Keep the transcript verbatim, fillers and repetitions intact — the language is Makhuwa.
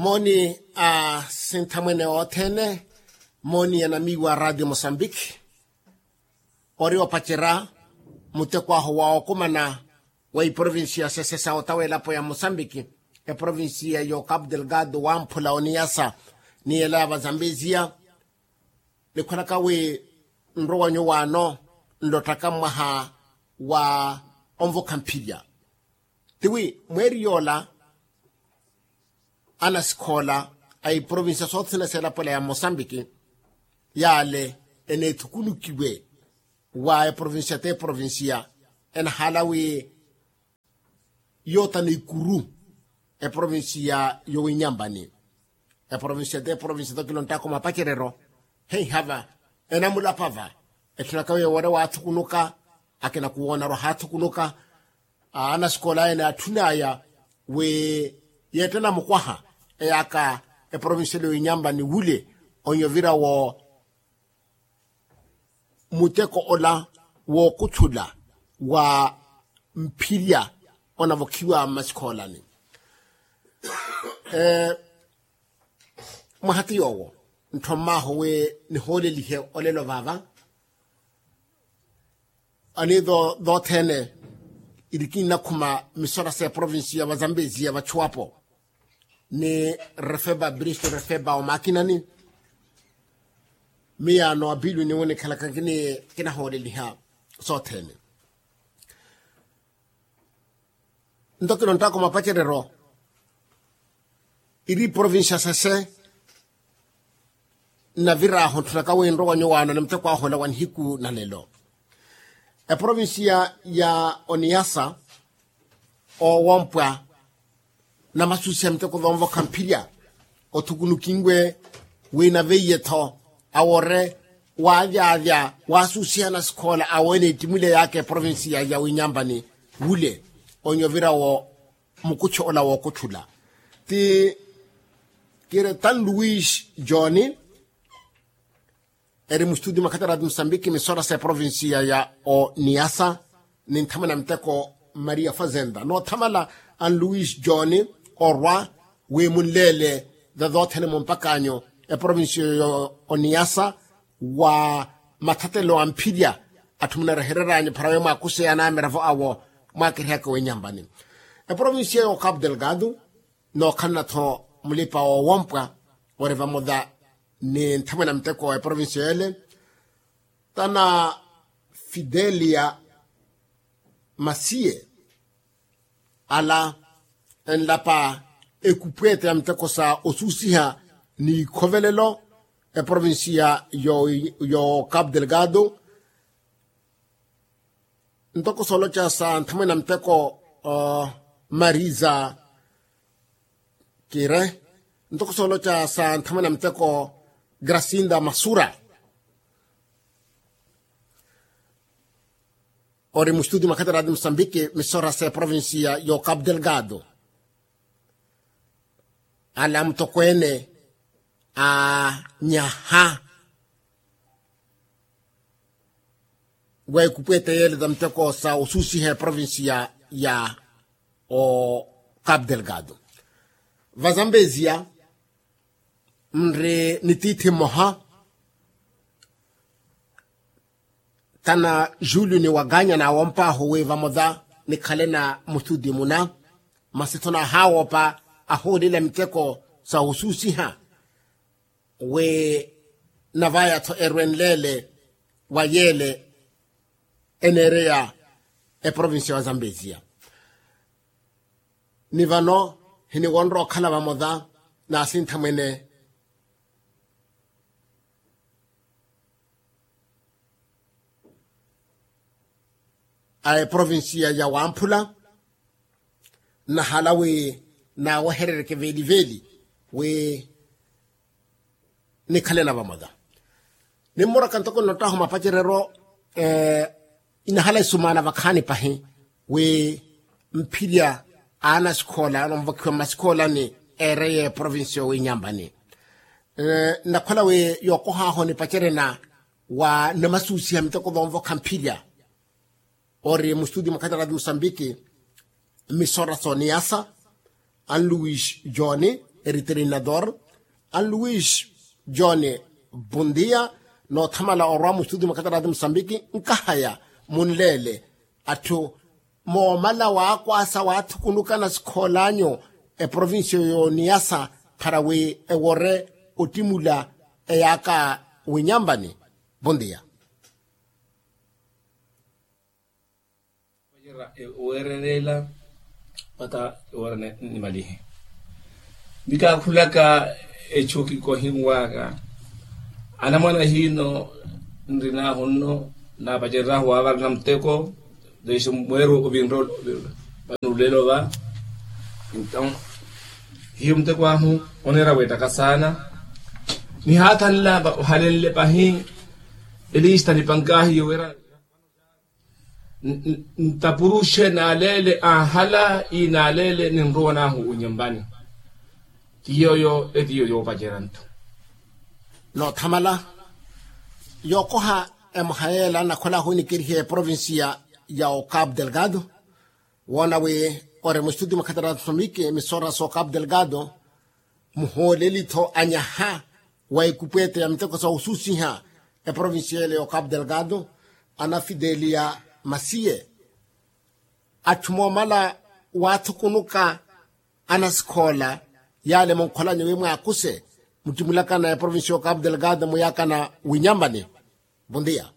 Mooni a sinthamwene othene. Mooni anamiiwa a ratio mosambiki. Ori opacerya muteko ahu wa okumana wa iprovincia sese sa otawa elapo ya mosambiki, eprovincia yo capu delgado wamphula oniyasa ni ela ya vazambezia. Nikhwelaka wi nrowanyu wano nlottaka mwaha wa onvokha mphilya. Tiwi mweeri yoola anasikhoola a iprovincia sothene seelapwela ya mosambiki yaale eneethukunukiwe wa eprovincia t'eprovincia enahaala wi yootana ikuru eprovincia yowinyambani. Eprovincia t'eprovincia tokilonttaka omapacereryo heihava enamulapava etthunaka wi ewoore waathukunuka akina kuwoonarwa haathukunuka. Anasikola ene atthunaya wi yeettena mukwaha eyaka eprovincia yowinyambani wule onyovira wo muteko ola wookutthula wa mphilya onavokhiwa mmasikhoolani. Mwaha ti yoowo ntthommaahu wi nihoolelihe olelo vaava. Aniitho thoothene irikinnakhuma misora s'eprovincia vazambezia vachuwapo ni refeba bristo refeba omakinani. Miyaano apilu niwo nikhalaka kinahooleliha sothene. Nto kinonttaka omapacereryo iri provincia sese nnavir'ahu ntthunaka wi nrowa nyuwaano ni muteko ahu ola wa nihiku na lelo. Eprovincia ya oniyasa owompwa namasusiha miteko thoonvokha mphilya othukunukinwe wi naveiye-tho awoore waavyavya waasusiha nasikhoola awo eneettimwile yaaka eprovincia ya winyambani wule onyovira wo mukuchu ola wookutthula. Ti kiri tan luis john eri mustudio makhatarati musambiki misora s'eprovincia ya oniyasa ni nthamwene a muteko maria fazenda noothamala an luis john orwa wi munleele thothothene mumpakanyu eprovincia ya oniyasa wa mathatelo a mphilya atthu munarehereranyu pharawe mwaakuseya anamiravo awo mwaakirihaka winyambani. Eprovincia ya ocapu delgado nookhalana-tho mulipa woowompwa ori vamola ni nthamwene a muteko wa eprovincia yeele tana fidelia masiye ala enlapa ekupweete ya muteko sa osuusiha ni ikhovelelo eprovincia yo capu delgado. Ntoko sooloca sa nthamwene a muteko marisa kire ntoko sooloca sa nthamwene a muteko grasinda masura ori mustudio makhatarati musambiki misora s'eprovincia yo capu delgado. Ala mutokweene anyaha wa ekupweete yeele ta muteko sa osuusiha eprovincia ya ocapu delgado. Vazambezia nri ni tiithi mmoha tana julio ni waganya naawomp'ahu wi vamola nikhale na mustudio muna masi-tho naahawoopa ahuulela miteko sa osuusiha wi navaya-tho erwenleele wa yeele eneereya eprovincia wa zambezia. Ni vano hiniwonra okhala vamola n'asinthamwene a eprovincia ya wamphula nnahala wi naaweherereke veeliveeli wi nikhalena vamola. Nimmuraka ntoko nnottahu mapacereryo inahala isumaana vakhaani pahi wi mphirya a anasikhoola anonvokhiwa mmasikhoolani eereya eprovincia owinyambani. Nnakhola wi yookoh'ahu nipacerena wa namasuusiha miteko vonvokha mphirya ori mustudio mwa khatarati musambiki mmisora s'oniyasa anluwisi joni eriterinador, anluis john, bondia. Noothamala orwa mustudio mwa khatarati musambiki nkahaya munleele atthu moomala waakwaasa waathukunukana sikhoolaanyu eprovincia yooniyasa para wi ewore ottimula eyaaka winyampani. Bondia. Oweererela pata ewora nimalihe. Nikaakhulaka echu kikohinwaka anamwana hiino nrinahu nno naapacererahu waavarana muteko. Desi mweru ovinro vanulelo va. Enton hiyo muteko ahu oneera weettaka saana. Nihaathanla ohalenle pahi elista nipankahiyo wira ntapuruxe naaleele anhala ii naaleele ninrowa nahu winyumpani. Ti yooyo etiyo yoopacerya nthu. Noothamala yookoha emoha yeela nakhola ahunikerihe eprovincia ya ocapu delgado. Woona wi ori mustudio mwa khatarati musambiki emisora sa ocapu delgado muhooleli-tho anyaha wa ekupwete ya miteko sa osusiha eprovincia ele ya ocapu delgado, ana fidelia masiye. Atthu moomala waathukunuka anasikhoola yaale munkholanyu wi mwaakuse muttimulakana eprovincia ya ocapu delgado muyaakana winyampani. Bondia.